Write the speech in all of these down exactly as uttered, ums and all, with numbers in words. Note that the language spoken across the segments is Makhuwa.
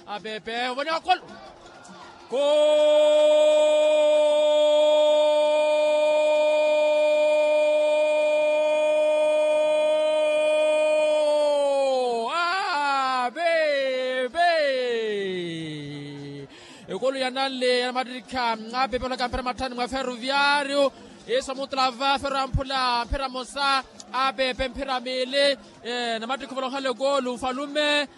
Apepe ovone wakolo. Ko apepe. Ekulu ya nanle ya namattikha apepe olaka mphira matthani mwa ferroviario. Iso muttula va ferro ya mphula mphira mosa apepe mphira miili. Namattikha ovolonkhala ekulu nfalume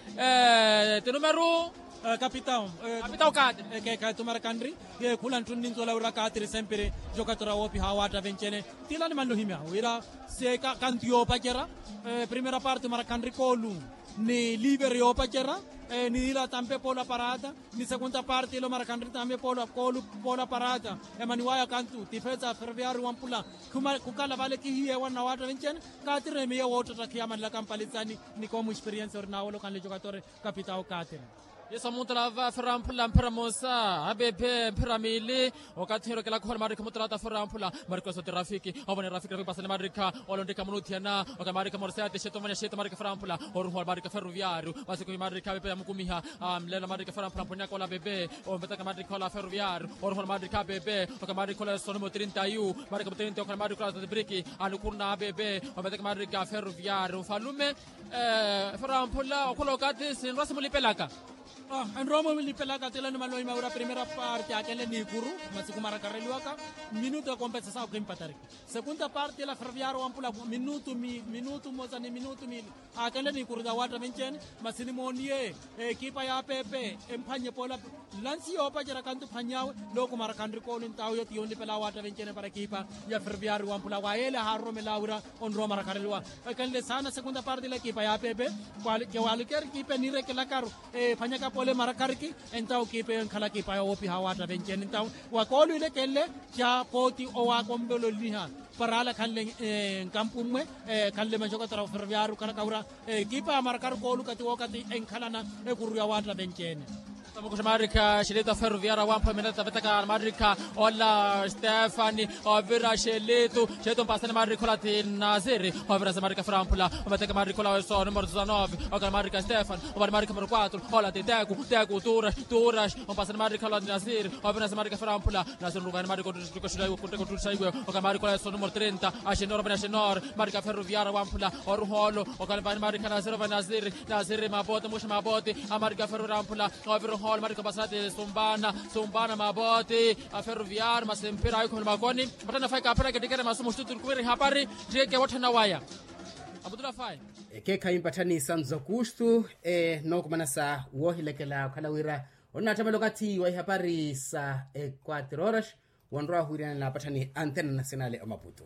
tinumeru. Kapitao. Kapitao kaatiri. Ekeekhayi tumarakanri. Khula ntthunni nzolawira kaatiri sempiri. Jokatora woopiha awaatta venccene. Tila nimanle ohimya wira se kantu yoopacerya. Primera parte tumarakanri koolu ni liveri yoopacerya. Ni ila tampe poola parata ni segunda parte ilo marakanri tampe poola koolu poola parata. Emaniwaya kantu tifesa ferroviari wampula. Khukala vale kihiyeewa nnawaatta venccene. Kaatiri emiya woottattakhiya manlaka mpalitsani. Ni koomu experiense ori naawolokanle jokatora. Kapitao kaatiri. Yesu amuntala va ferramphula mphira mosa apepe mphira miili. Okathi hirokelaka ohola maarikha mutalata ferramphula. Marikoso ti rafiki ovona rafiki rafiki pasani maarikha. Olontika munuthiyana oka maarikha morsete xeto ovona xeto maarikha ferramphula. Oruhola maarikha ferroviario masiku hi maarikha apepe yamukumiha. Mlela maarikha ferramphula mphonyaka ola apepe. Ompetaka maarikha ola ferroviario oruhola maarikha apepe. Oka maarikha ola esonimo trinta yu maarikha mutrinta okhala maarikha ola tatibriki. Anukhuruna apepe. Ompetaka maarikha ferroviario nfalume. Ferramphula okhula okathi sinrwa simulipelaka. Enromo milipelaka tela ni maloima wira primera parte akenle ni ikuru. Masiku marakareliwaka minutu ekompesesa okhimpatariki. Segunda parte ela ferroviario wampula minutu minutu mosa ni minutu mili. Akenle ni ikuru ya watta venccene. Masi nimooniye ekipa ya pepe emphanye poola. Lansi yoopacerya kantu phany'awe. Looku marakanri kooni ntawo yo ti yonlipela watta venccene para ekipa ya ferroviario wampula wa yeele ahaaroromela wira onrowa marakareliwa. Ekenle saana segunda parte ela ekipa ya pepe. Kewalukeri ekipa eniirekelakaru ephanyaka pole marakariki. Entawo kipa eyo enkhala kipa yowoopiha waatta venccene entawo wa koolu ile kenle ca pooti owaakombololiha. Para ala khanle nkampu mmwe khanle maxokotera ferroviario khalaka wira. Kipa ya marakari koolu kati wookati enkhalana ekuru ya waatta venccene. Tamukuxa maarikha xilita ferroviario wampha minata vetaka maarikha ola stefani. Ovira xilitu xilitu mpasani maarikha ola ti nasiri. Ovira sa maarikha ferramphula ometeke maarikha ola weso numero dezanove. Okala maarikha stefani ovani maarikha numero quatro. Ola ti teku teku turas turas. Ompasani maarikha ola ti nasiri. Ovira sa maarikha ferramphula nasiri nruvani maarikha otutuka xula iwe kunteka otutuka xula iwe. Okala maarikha ola weso numero trinta. Axinor ovani axinor. Maarikha ferroviario wampula oruholo. Okala vani maarikha nasiri ovani nasiri. Nasiri mapote muxa mapote. Amarika ferroviario amphula. Ovira oholo marika pasati sumbana sumbana mapote. Aferroviario masi mphira ayo khumela makoni. Mpatthani afayi kaapheraka ettikere masu muxutu turikuwiri hapari. Ttieke wotthana waya. Aputula afayi. Ekeekhayi mpatthani sanzo kustu. Nookumanasa woohilekela okhala wira onnaattamela okathi wa ihapari sa equatro horas. Wonrowa wahwiiryanela napatthani antena nasionale omaputu.